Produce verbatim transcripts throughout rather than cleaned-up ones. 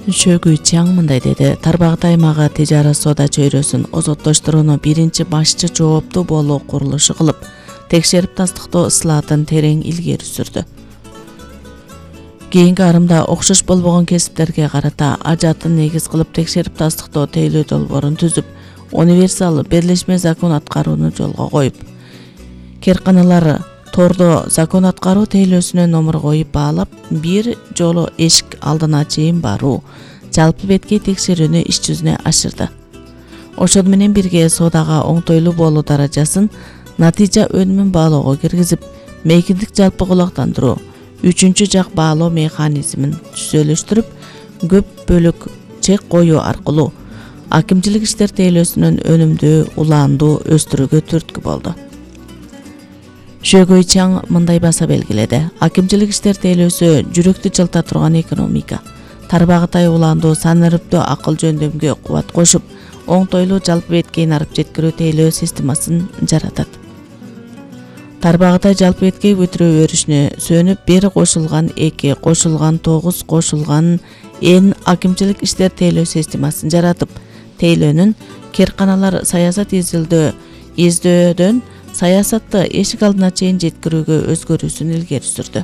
Шөгүй Чаң мындай деди: Тарбагат аймагы тижарат соода чөйрөсүн озоттоштурууну биринчи башчы жооптуу болуу курулушу кылып, текшерип тастыктоо ысылаатын терең илгери сүрдү. Кийинки арымда окшош болбогон кесиптерге карата ажатын негиз кылып текшерип тастыктоо тейлөө долбоорун түзүп, универсал берлешме закон аткарууну жолго коюп, керканалар тордо закон аткаруу тейлөөсүнө номер коюп баалап, бир жолу эшик алдына чейин баруу, жалпы беткей текшерүүнү иш жүзүнө ашырды. Ошону менен бирге соодага оңтойлуу болуу даражасын натыйжа өнүмүн баалоого киргизип, мейкиндик жалпы кулактандыруу, үчүнчү жак баалоо механизмин түзөлүштүрүп, көп бөлүк чек коюу аркылуу акимчилик иштер тейлөөсүнүн өнүмдүү, улаандуу өстүрүүгө түрткү болду. Шөгүй Чаң мындай баса белгиледи: акимчилик иштер тейлөөсү жүрөктү жылта турган экономика, тарбагатай улаандуу санариптүү акыл жөндөмгө кубат кошуп, оңтойлуу жалпы беткей нарып жеткирүү тейлөө системасын жаратат. Тарбагатай жалпы беткей бүтүрүү өрүшүнө сөнүп, бир кошулган эки кошулган тогуз кошулган н акимчилик иштер тейлөө системасын жаратып, тейлөөнүн керканалар саясат изилдөө издөөдөн саясатты эшик алдына чейин жеткирүүгө өзгөрүүсүн илгери сүрдү.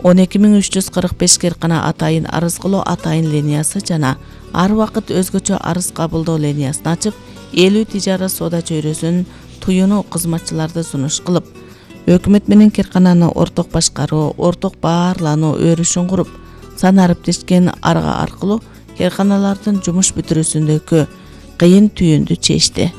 он эки миң үч жүз кырк беш керкана атайын арыз кылуу атайын линиясы жана ар убакыт өзгөчө арыз кабылдоо линиясын ачып, элүү тижарат соода чөйрөсүн туюну кызматчыларды сунуш кылып, өкмөт менен керкананы орток башкаруу, орток баарлануу өрүшүн куруп, санариптешкен арга аркылуу керканалардын жумуш бүтүрүүсүндөгү кыйын түйүндү чечти.